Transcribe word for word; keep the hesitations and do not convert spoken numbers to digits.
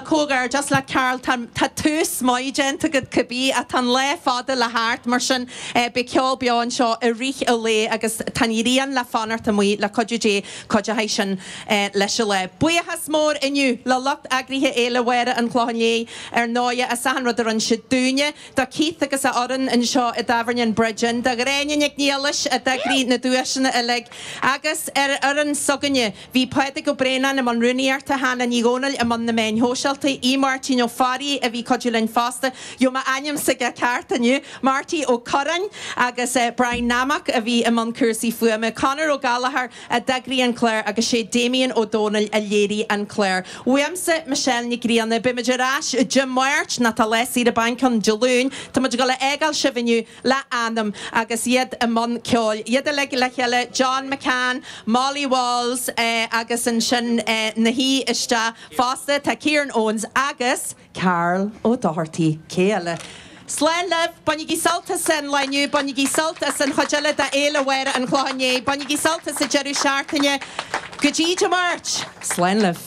Comhghairdeas le Karl tá tús maith déanta agat cibé ach tá an lá fada le theacht mar sin beidh ceol beo anseo i rith an lae agus tá an ghrian le fanacht amuigh le cuidiú Dé cuideoidh sin leis an lá. Buíochas mór inniu le lucht eagraithe Fhéile Mháire an Chlocháin Léith ar ndóigh as achan rud a rinne siad dúinne, do Keith agus a fhoireann anseo i dTábhairne an Bridge Inn, do Ghráinne Nic Niallais a d'eagraigh na duaiseanna uilig agus ar fhoireann s'againne bhí Pádraig Ó Braonáin i mbun rúnaíochta, Hannah Ní Dhomhnaill i mbun na meáin shóisialta, í Máirtín Ó Fearraigh a bhí ag cuidiú linn fosta, gheobhaidh mé ainm s'aige ceart inniu, Marty Ó Curráin agus Brian Nammock a bhí i mbun cúrsaí fuaime, Conor Ó Gallchóir a d'eagraigh an clár agus sé Damien Ó Dónaill a léirigh an clár. Uaimse, Michelle Nic Grianna, beimid ar ais Dé Máirt nó tá lá saoire bainc ann Dé Luain, tá muid ag dul a fhágáil sibh inniu le Anam agus iad i mbun ceoil. Iad uilig le chéile, John McCann, Molly Walls agus ansin na haoi isteach fosta, tá Kieran Owens agus Karl Ó Dochartaigh, cé eile? Slán libh, bainigí sult as an lá inniu, bainigí sult as an chuid eile de Fhéile Mháire an Chlocháin Léith, bainigí sult as an deireadh seachtaine. Go dtí Dé Máirt, slán libh.